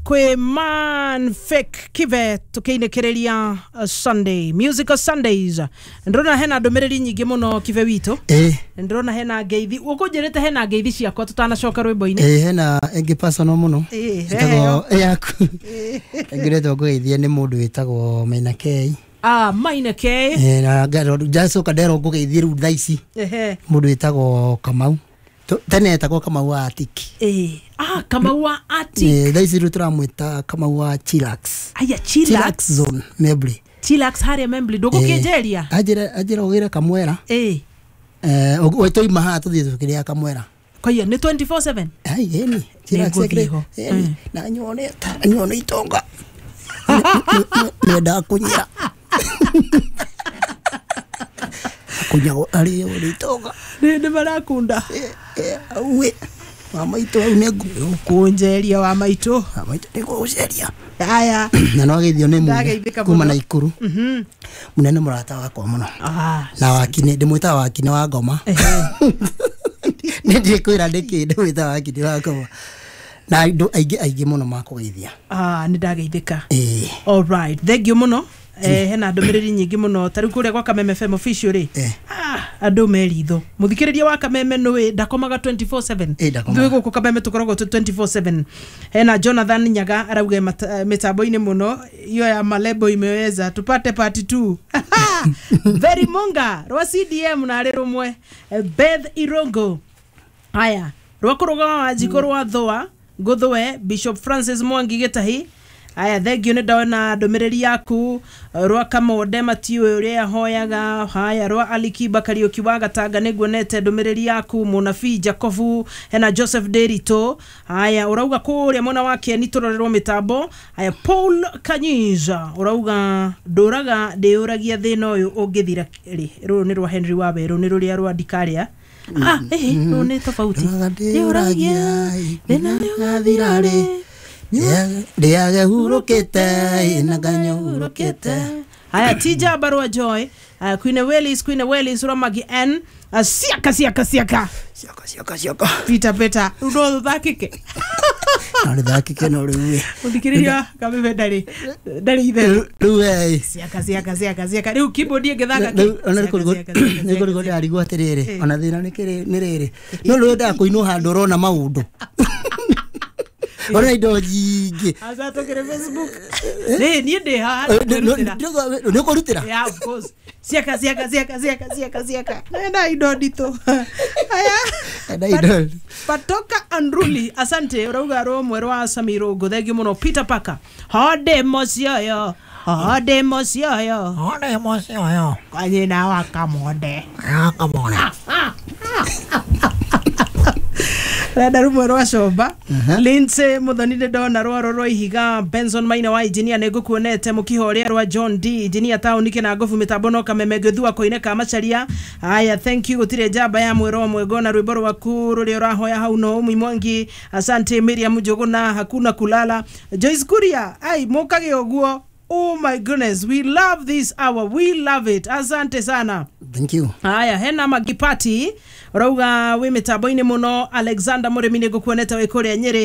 Kwĩ man fake kive tukiinĩkĩrĩria Sunday Musical Sundays. Ndĩrona hena ndũmĩrĩri nyingĩ mũno kive witũ. Ndĩrona hena ngeithi, ũkũnjĩrĩte hena ngeithi ciakwa tũtanacoka rwĩmbo-inĩ. Ĩ, hena ĩngĩ personal mũno. Ĩtagwo ĩtagwo yaku ĩngĩ retwo ngũgeithie nĩ mũndũ wĩtagwo Maina K. Ah, Maina K. Na ndacoka nderwo ngũgeithie rĩu thaa ici mũndũ wĩtagwo Kamau. Tene etagwo Kamau wa Atiki. Ah, Kamau wa Atiki. Thaa ici rĩu tũramwĩta Kamau wa Chillax. Aya, Chillax. Chillax Zone Membly. Chillax harĩa Membly, ndũgũkĩnjeria? Anjĩra ũgĩre kamwera. Twaima haha tũthiĩ tũkĩrĩa kamwera. Kwaiya nĩ 24/7? Ai, ĩni Chillax. Nĩngũthiĩ ho. Ĩni na nyone itonga nĩendaga kũnyira kunyagwo arĩo nĩ itonga. Nĩ marakunda. Auĩ wa maitũ au nĩ Ũkũnjeria wa maitũ. Wa maitũ nĩ ngũgũceria. Aya. Na no ageithio nĩ Ndageithĩka Mune kuma mũno. na Ikuru. Mune nĩ mũrata wakwa mũno. Na wakini ndĩmwĩtaga wakini wa ngoma. Nĩ ndikwĩra nĩkĩ ndĩmwĩtaga wakini wa ngoma, na andũ aingĩ aingĩ mũno makũgeithia. Ah, nĩ ndageithĩka. Ĩĩ. Alright, thank you mũno. Hena ndũmĩrĩri nyingĩ mũno ta rĩu kũrĩa gwa Kameme FM official rĩ. Ah, andũ me ritho, mũthikĩrĩria wa Kameme nũĩ ndakomaga 24/7. Ĩ, ndakomaga. Ithuĩ gũkũ Kameme tũkoragwo tũ 24/7. Hena Jonathan Nyaga arauga mĩtambo-inĩ mũno, hiyo ya malebo imeweza, tupate part 2. Very Munga rwa CDM na arĩ rũmwe. Beth Irongo, haya rwa kũrũgama Wanjikũ rwa thũa ngũthũe Bishop Francis Mwangi Gĩtahi. Aya, thengio, nĩ ndona ndũmĩrĩri yaku. Rwa Kamonde matiũĩ ũrĩa ahoyaga. Haya, rwa Alikiba Kariũki wa Gatanga, nĩ nguonete ndũmĩrĩri yaku. Mũnabii Jacobu, hena Joseph Derito. Haya, ũrauga kũrĩa mwena wa Keni tũrorerwo mĩtambo. Haya, Paul Kanyiza ũrauga ndũraga ndĩũragia thĩna ũyũ ũngĩthira rĩ. Rũrũ nĩ rwa Henry Wawerũ, nĩ rũrĩa rwa ndikarĩa. Ah, rũrũ nĩ tofauti. Ndũraga ndĩũragia thĩna ũyũ ũgathira rĩ. Ndĩage hurũkĩte na nganyũrũkĩte. Haya, tija barua Joy, Queen Willis, Queen Willis Ramagi N, siaka siaka siaka. Cioka cioka cioka. Peter Peter, rĩu no tũthakĩke. No rĩthakĩke, no rĩu ĩ. Mũthikĩrĩria Kameme ndarĩ itherũ. Rĩu ĩ. Siaka siaka siaka siaka, rĩu keyboard ĩngĩthaka kĩ? Rĩu ona Siaka, siaka, siaka, nĩ kũrigwo siaka. ndĩrarigwo atĩrĩrĩ, ona thĩna nĩ rĩrĩ, no rĩu wendaga kũinwo handũ ũrona maũndũ, ũrona indo nyingĩ. Aca, tũkĩrĩ Facebook. Nĩ niĩ ndĩ haha nĩkwĩrutĩra. Nĩ ũkũrutĩra. Yeah, of course. Siaka siaka siaka siaka siaka siaka, enda indo nditũ. Haya. Enda indo. Patoka Andruli, asante, urauga rũmwe rwa Samirongo, thengio mũno. Peter Parker, hode mocionyo, hode mocionyo. One mocionyo. Kwa nyina wa Kamonde. Kamona. Renda rumwe rwa Comba Lindsay Muthoni, nĩ ndona rwaro rwa ihiga. Benson Maina wa engineer, nĩ ngũkuonete. Mũkiho ũrĩa rwa John D engineer taũni kĩnangobu, mĩtambo no Kameme ngĩthua koine ka Macharia. Haya, thank you. Gũtirĩ njamba ya mwĩro ũmwe, ngona rwĩmbo rwaku rũrĩa ũrahoya hau no ũmwe Mwangi. Asante. Miriam Njũgũna, hakuna kulala. Joyce Kuria, ai mũkage ũguo. Oh my goodness, we love this hour, we love it, asante sana. Thank you. Haya, hena Magipati ũrauga wĩ mĩtambo-inĩ mũno. Alexander Mũrĩmi, nĩ ngũkuonete wĩ kũrĩa Nyĩrĩ.